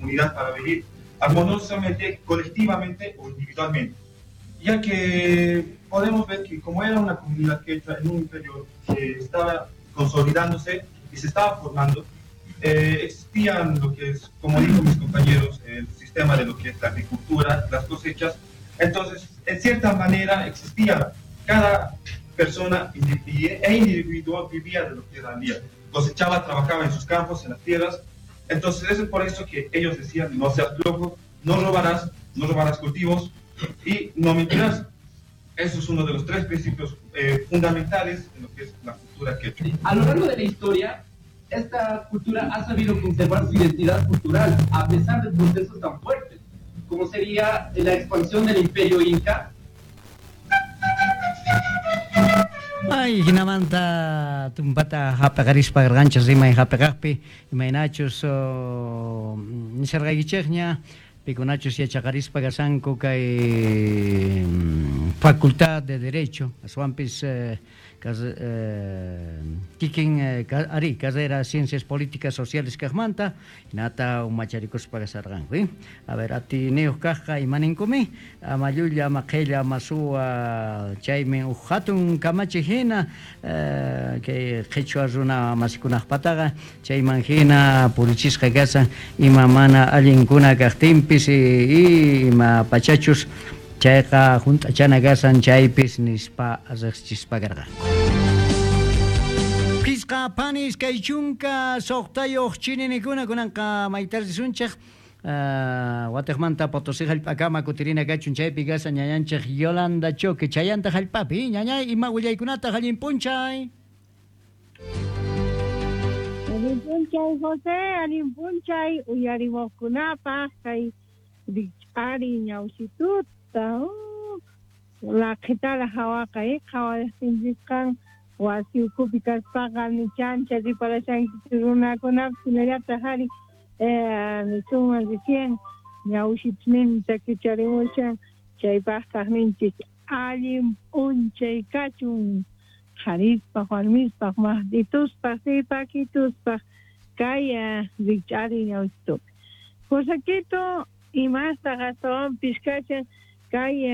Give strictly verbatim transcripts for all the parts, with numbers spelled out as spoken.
comunidad para vivir armoniosamente, colectivamente o individualmente. Ya que podemos ver que como era una comunidad quechua en un imperio que estaba consolidándose y se estaba formando, eh, existían lo que es, como dijo mis compañeros, el sistema de lo que es la agricultura, las cosechas. Entonces, en cierta manera existía cada persona e individuo vivía de lo que era el día. Cosechaba, trabajaba en sus campos, en las tierras. Entonces, es por eso que ellos decían, no seas flojo, no robarás, no robarás cultivos y no mentirás. Eso es uno de los tres principios eh, fundamentales en lo que es la cultura quechua. A lo largo de la historia, esta cultura ha sabido conservar su identidad cultural a pesar de procesos tan fuertes, como sería la expansión del Imperio Inca. Ay, hinamanta tumpata hapaqarispa garganchas rimay hapaqaqpi, imaynachus nisarqaykichikña, pikunachus yachaqarispa kashanku kay Facultad de Derecho, aswanpis eh, eh, kikin eh, ari, carrera Ciencias Políticas Sociales kaqmanta, hinata umacharikuspa kasarqanku, eh? A ver, atiniyuq kaqqa imaninkumi, ama llulla, ama qhilla, ama suwa, chaymi uj hatun kamachi hina, eh, kay qhichwa runa masikunaqpataqa, chayman hina purichisqa kasan, ima mana allinkuna kaqtinpis, y ima pachachus chayqa junt'achana kasan chaypis nispa riqsichispa karqanku. Pisqa panis kay chunka suqtayuq chininikuna kunanqa maytarrisunchik uh, watiqmanta Potosí hallp'akama kutirina kachun chaypi kasan ñañanchik Yolanda Choque chayanta hallp'api ñañay ima willaykunata allin p'unchay. Allin p'unchay José, allin p'unchay uyarimuqkunapaq kay rikch'ari ñawsituta Oh, laqhitala hawaqa eh, qhawarisqan wasi ukhupi kaspaqa nichancha riparashankichik runakunapis hinallataq ari eh, nisunman recién ñawshitusninta kicharimushan chaypaqtaq ninchik allin p'unchay kachun qharispaq warmispaq maqtituspaq sipakituspaq kay rikch'ari ñawsitupi. Josequito imastaq astawanpis kashan kay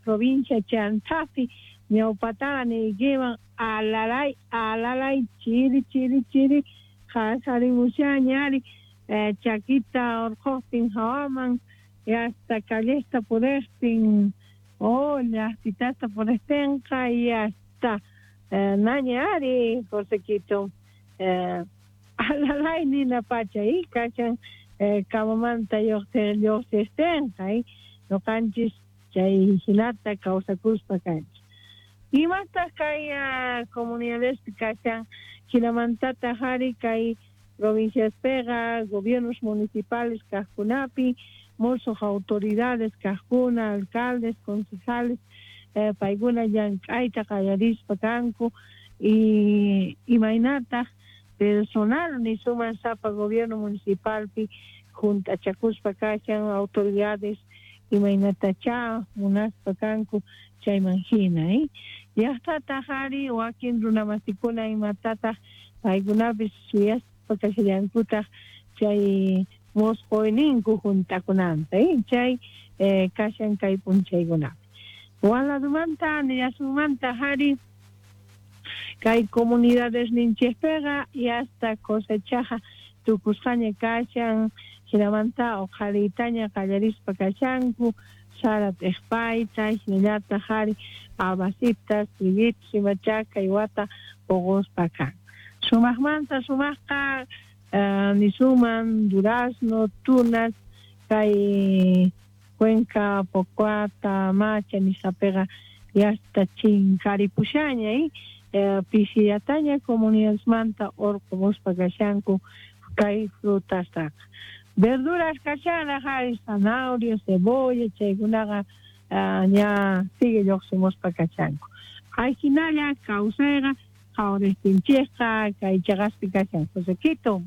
provincia Chantapi ñawpataqa niykiman alalay alalay chiri chiri chiri qasarimushaña ari eh, chakita urquqtin hawaman y hasta callesta puriqtin oh llaqtitasta puriqtinqa y hasta eh, naña ari Josequito eh, alalay nina pacha y kashan eh, kamamanta lluqsi lluqsiqtinqa y ñuqanchis chay hinata kawsakuspa kanchik. Imataq kay uh, comunidadespi kashan hinamantataq ari kay provinciaspiqa gobiernos municipales kaqkunapi musuq autoridades kaqkuna alcaldes, concejales eh, paykuna llank'ayta qallarispa kanku y imaynataq personal nisuman sapa gobierno municipalpi junt'achakuspa kashan autoridades imaynatacha munaspa kanku chayman hina eh? Llaqtataq ari wakin runamasikuna imatataq paykunapis suyaspa kashallankutaq chay musquyninku juntakunanta eh? Chay eh, kashan kay p'unchaykunapi. Waladumanta nillasumanta ari kay comunidades ninchikpiqa y hasta cosechaqa tukusqaña kashan hinamanta uqhariytaña qallarispa kashanku sara t'iqpayta hinallataq ari abasitas, triguitos imacha kay wata puquspa kan. Sumaqmanta sumaqqa uh, nisuman durazno, tunas kay Cuenca, Pocuata, Macha nisqapiqa yasta chinkaripushaña eh, eh, pisillataña comunidadesmanta urqumuspa kashanku kay frutastaqa. Verduras kashanraq ari zanahoria, cebolla chaykunaqa uh, ña sigue lluqsimuspa kashanku. Ayhinalla kawsayqa qhawariqtinchikqa kay chaqaspi kashan Josequito.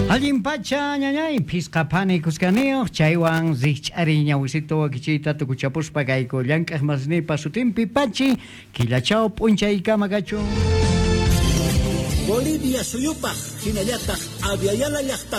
Allin pacha ñañay phisqa phani kuskaniyuq chaywan rikch'ari ñawisito wakichiyta tukuchapuspa kayku llank'aq masnipa sutinpi pachi killachaw p'unchaykama kachun. Bolivia suyupaq hinallataq Aviala llaqtapaq.